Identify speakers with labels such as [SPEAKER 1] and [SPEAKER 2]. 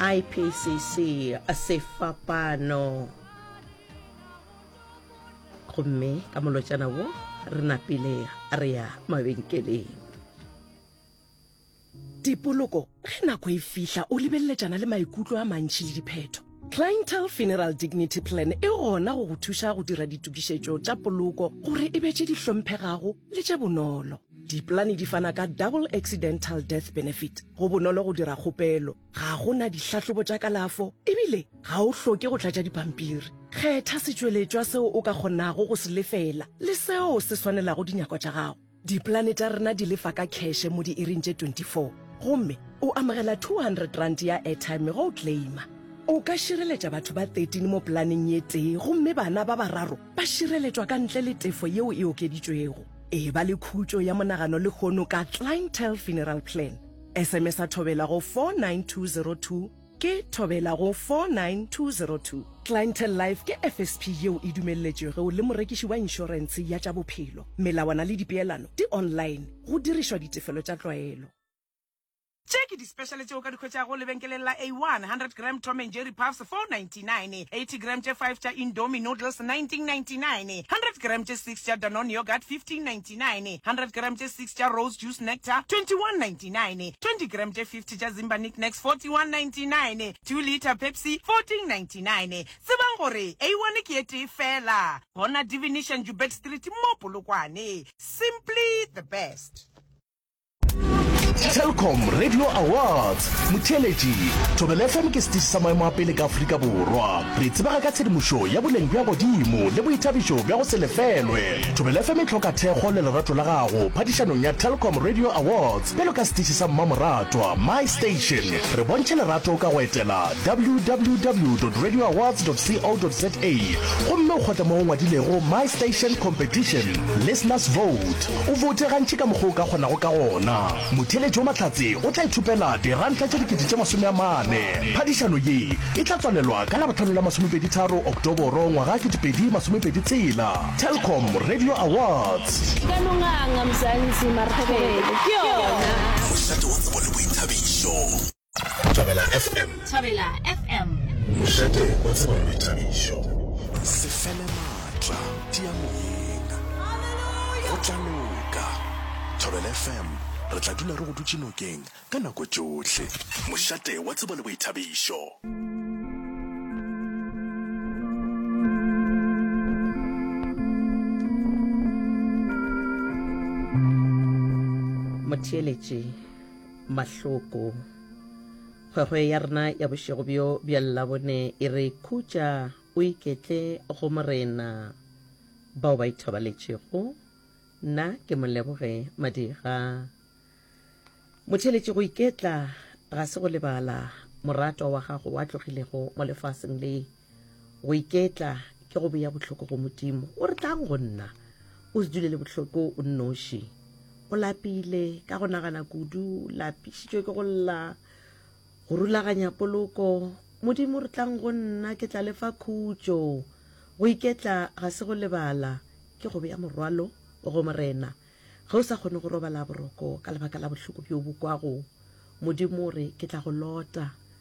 [SPEAKER 1] IPCC Sefapano. Gomme ka molotšana wo re napile re ya mabenkeleng.
[SPEAKER 2] Dipoloko, ge nako e fihla o lebeleletšana le maikutlo a mantši le diphetho. Clientele Funeral Dignity Plan e gona go go thuša go dira ditokišetšo tša poloko gore e be tše di hlomphegago le tše bonolo. Dipolane di fana ka Double Accidental Death Benefit, go bonolo go dira kgopelo, ga go na dihlahlobo tša kalafo ebile ga o hloke go tlatša dipampiri. Kgetha setšweletšwa seo o ka kgonago go se lefela le seo se swanelago dinyakwa tša gago. Dipolane tša rena di lefa ka kheše mo diiring tše 24 gomme o amogela R200 ya airtime ge o claima. O ka šireletša batho ba 13 mo polaneng ye tee gomme bana ba bararo ba šireletšwa ka ntle le tefo yeo e okeditšwego. Eba le khutšo ya monagano lehono ka Clientele Funeral Plan. SMS-a Thobela go 49202. Ke Thobela go 49202. Clientele Life ke FSP yeo e dumelletšwego le morekiši wa inšorentshe ya tša bophelo. Melawana le dipeelano di online go dirišwa ditefelo tša tlwaelo.
[SPEAKER 3] Tše ke di-special tše o ka di hwetšago lebenkeleng la A1, 100 gram Tom and Jerry Puffs, 4.99, 80 gram tše 5 tša Indomie Noodles, 19.99, 100 gram tše 6 tša Danone Yoghurt, 15.99, 100 gram tše 6 tša Rose Juice Nectar, 21.99, 20 gram tše 50 tša Zimba Knickknacks 41.99, 2 litre Pepsi 14.99. Tsebang gore A1 ke e tee fela gona Divination Joubert Street mo Polokwane. Simply the best.
[SPEAKER 4] Telkom Radio Awards Motheeletši, Thobela FM ke setiši sa maemo a pele ka Afrika Borwa. Re tsebega ka tshedimošo ya boleng bja godimo le boithabišo bja go se lefelwe. Thobela FM e hloka thekgo le lerato la gago phadišanong ya Telkom Radio Awards. Bjalo ka setiši sa mmamoratwa, My Station, re bontšhe lerato ka go etela www.radioawards.co.za gomme o kgotle mo go ngwadilego My Station Competition, Listeners Vote. O vote gantši ka mokgwa o ka kgonago ka gona. Motheeletši wa mahlatse o tla ithopela diranta tše 40,000. Phadišano ye e tla tswalelwa ka Labohlano la masomepeditharo Oktoboro ngwaga 2026. Telkom Radio Awards.
[SPEAKER 5] Ka no nganga Mzansi mara thobela ke yona.
[SPEAKER 6] Mošate wa tsebo le boithabišo. Thobela FM.
[SPEAKER 5] Thobela FM.
[SPEAKER 6] Mošate wa tsebo le boithabišo. Se fele maatla, tia moyeng. Go tla loka. Thobela FM, re tla dula re go dutše nokeng ka nako tšohle. Mošate wa tsebo le boithabišo.
[SPEAKER 1] Motheeletši Mahloko. Kgwekgwe ya rena ya bošego bjo bja Labone e re khutša o iketle go Morena. Bao ba ithobaletšego, nna ke Moleboge Madira. Motheeletši, go iketla ga se go lebala moratwa wa gago wa tlogilego mo lefaseng le. Go iketla ke go bea bohloko go Modimo. O re tlang go nna, o se dule le bohloko o nnoši. O lapile ka go nagana kudu, lapišitšwe ke go lla, go rulaganya poloko. Modimo re tlang go nna, ke tla le fa khutšo. Go iketla ga se go lebala, ke go bea morwalo go Morena. Ge o sa kgone go robala boroko ka lebaka la bohloko bjo bo kwago, Modimo o re, Ke tla go lota.